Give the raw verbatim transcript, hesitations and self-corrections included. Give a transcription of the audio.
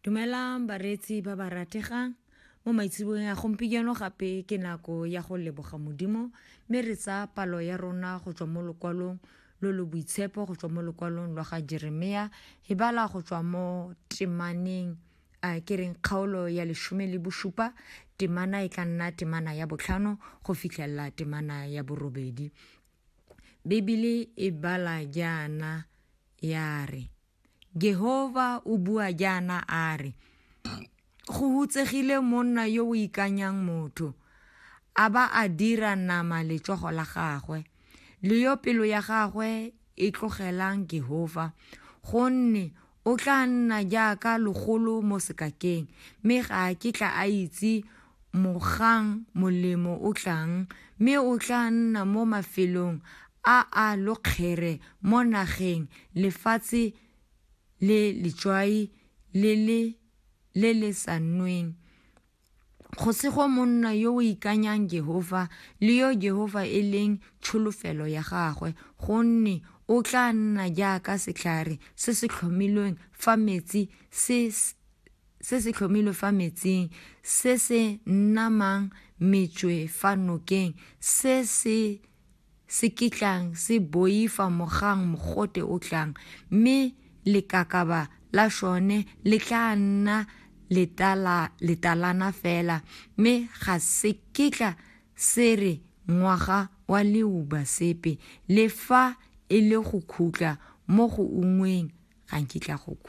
Dumelang bareetsi ba ba rategang mo maitseboeng a gompieno gape ke nako ya go leboga Modimo mme re tsaya palo ya rona go tswa mo lokwalong lo lo boitshepo go tswa mo lokwalong lwa ga Jeremia e bala go tswa mo temaneng a ke reng kgaolo ya lesome le bosupa temana e tla nna temana ya botlhano go fitlhelela temana ya borobedi. Bebele e bala jaana ya re Jehova o bua jaana a re go hutsegile monna yo o ikanyang motho a ba a dira nama letsogo la gagwe le yo pelo ya gagwe e tlogelang Jehova gonne o tla nna jaaka logolo mo sekakeng mme ga a kitla a itse mogang molemo o tlang mme o tla nna mo mafelong a a lokgere mo nageng lefatshe le letswai le le le le sa nweng. Go sego monna yo o ikanyang Jehova le yo Jehova e leng tsholofelo ya gagwe gonne o tla nna jaaka setlhare se se tlhomilweng fa metsi se se se tlhomilwe fa metsing se se namang metswe fa nokeng se se se kitlang se boifa mogang mogote o tlang mme lekakaba la sone le tla nna letala letalana fela mme ga se kitla se re ngwaga wa leuba sepe le fa e le go khutla mo go ungweng ga nkitla go